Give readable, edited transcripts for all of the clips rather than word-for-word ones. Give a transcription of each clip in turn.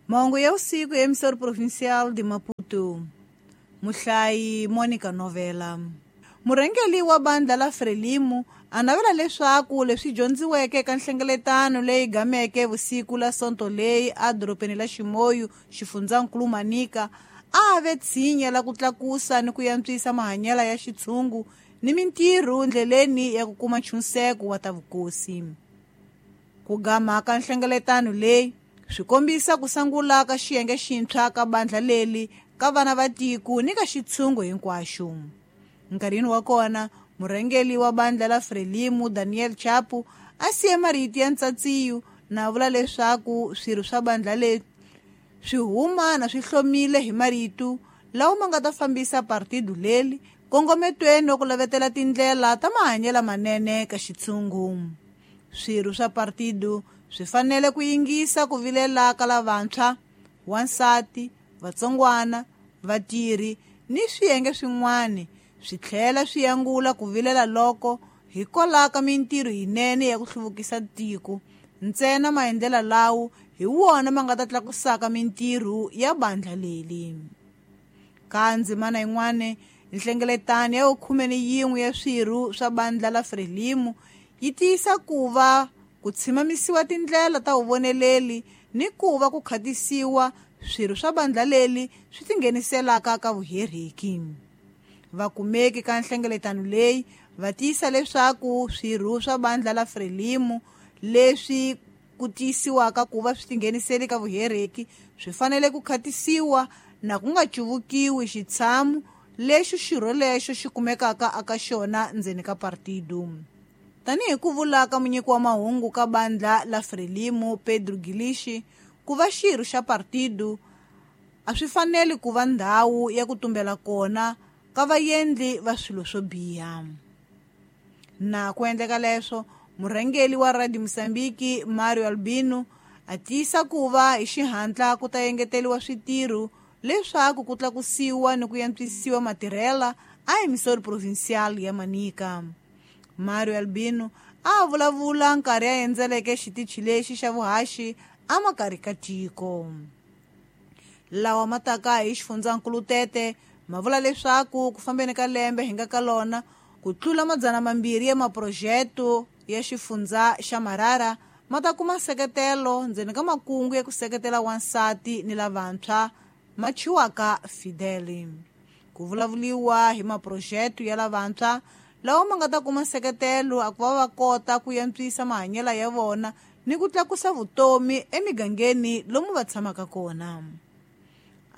Mahungu ya usiku ya emissora provincial de Maputo. Muhlayi Monica Novela. Murhangeri wa bandla la Frelimo a navela leswaku leswi dyondziweke eka nhlengeletano leyi gameke vusiku la Sonto leyi edorobeni la Chimoio, xifundzankulu Manica, a ve tshinya la ku tlakusa ni ku antswisa mahanyelo ya xitshungu ni mintirho ndleleni ya ku kuma nchunseko wa ta vukosi. Ku gama ka nhlengeletano leyi swi kombisa ku sungula ka xiyenge xintshwa ka bandla leri ka vana va tiko ni ka xitshungu hinkwaxo. Nkarhini wa kona, murhangeri wa bandla la Frelimo Daniel Chapo a siye marito ya ntsatsiyo na vula leswaku swirho swa bandla leri swi huma na swi hlomile hi marito lawa ma nga ta fambisa partido leri kongometweni wa ku lavetela tindlela ta mahanyelo manene ka xitshungu. Swirho swa partido swi fanele ku yingisa ku vilela ka lavantshwa, wansati, vatsongwana, vatirhi ni swiyenge swin'wana, swi tlhela swi angula ku vilela loko hikwalaho ka mintirho yinene ya ku hluvukisa tiko. Ntsena maendlelo lawo hi wona ma nga ta tlakusaka mintirho ya bandla leri. Ka ndzimana yin'wana, nhlengeletano ya 11 ya swirho swa bandla la Frelimo yi tiyisa ku va ku tshimamisiwa tindlela ta vuvoneleli ni ku va ku khatisiwa swirho swa bandla leri swi tingheniselaka ka vuheriki. Vakumeki ka nhlengeletano leyi va tiyisa leswaku swirho swa bandla la Frelimo leswi ku tiyisiwaka ku va swi tingheniseli ka vuheriki swi fanele ku khatisiwa na ku nga cuvukiwi xitshamo lexi xirho lexo xi kumekaka eka xona ndzeni ka partido. Tanihi ku vula ka munyiki wa mahungu ka bandla la Frelimo Pedro Gilishi, ku va xirho xa partido a swi faneli ku va ndhawu ya ku tumbela kona ka vaendli va swilo swo biha. Na ku endleka leswo, murhangeri wa Radio Mozambique Mario Albino a tiyisa ku va hi xihatla ku ta engeteriwa switirho leswaku ku tlakusiwa ni ku antswisiwa matirhela a emissora provincial ya Manica. Mario Albino a vulavula nkarhi a endzeleke xitichi lexi xa vuhaxi amakarhi ka tiko. Lawa ma taka hi xifundzankulu Tete ma vula leswaku ku fambeni ka lembe hi nga ka lona ku tlula 200 ya maprojeto ya xifundza xa Marara ma ta kuma nseketelo ndzeni ka makungu ya ku seketela wansati ni lavantshwa ma chiwaka Fidel. Ku vulavuriwa hi maprojeto ya lavantshwa lawa ma nga ta kuma nseketelo a ku va va kota ku antswisa mahanyelo ya vona ni ku tlakusa vutomi emigangeni lomu va tshamaka kona.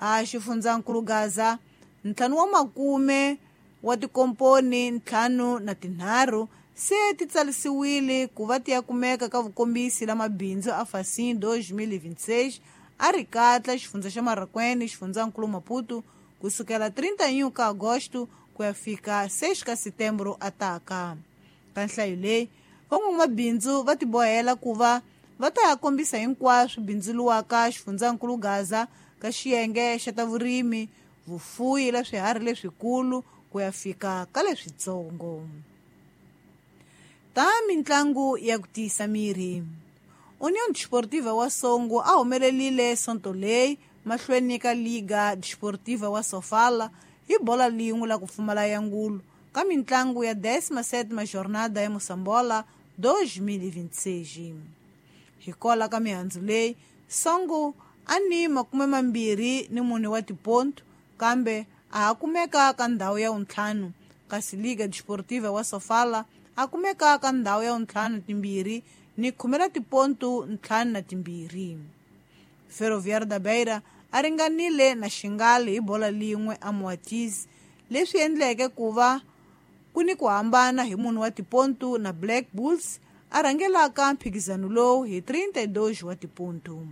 A xifundzankulu Gaza, 5 wa makume wa tikomponi 53 se ti tsarisiwile ku va ti ya kumeka ka vukombisi la mabindzu a Facim 2026 a ri katla xifundza xa Marraquene, xifundzankulu Maputo, kusukela 31 ka Agosto ku ya fika 6 ka Setembro ataka. Ka nhlayo leyi, van'wamabindzu va tibohela ku va va ta ya kombisa hinkwaswo bindzuluwaka xifundzankulu Gaza ka xiyenge xa ta vurimi, vufuyi la swiharhi leswikulu ku ya fika ka leswitsongo. Ta mintlangu ya ku tiyisa miri. União Desportiva wa Songo a humelerile Sonto leyi mahlweni ka Liga Desportiva wa Sofala hi bola lin'we la ku pfumala ya ngulu ka mintlangu ya 17ª jornada ya Moçambola 2026. Hikola ka mihandzu leyi, Songo a ni 24 wa tiponto kambe a ha kumeka ka ndhawu ya 5, kasi Liga Desportiva wa Sofala a kumeka ka ndhawu ya 52 ni 10 tiponto 52. Ferroviário da Beira a ringanile na Xingali hi bola lin'we a Moatize, leswi endleke ku va ku ni ku hambana hi 4 wa tiponto na Black Bulls a rhangelaka mphikizano lowu hi 32 wa tiponto.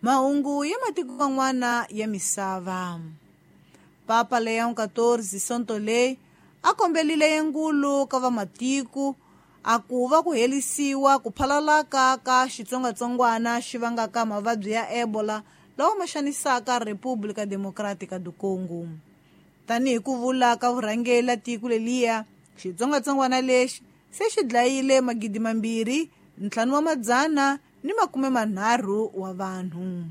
Mahungu ya matiko man'wana ya misava. Papa Leon XIV Sonto leyi a kombelile yengulu ka vamatiko a ku va ku herisiwa ku phalalaka ka xitsongwatsongwana xi vangaka mavabyi ya Ebola lawa ma xanisaka República Democrática do Congo. Tanihi ku vula ka vurhangeri la tiko leliya, xitsongwatsongwana lexi se xi dlayile 2,500 ni 30 wa vanhu.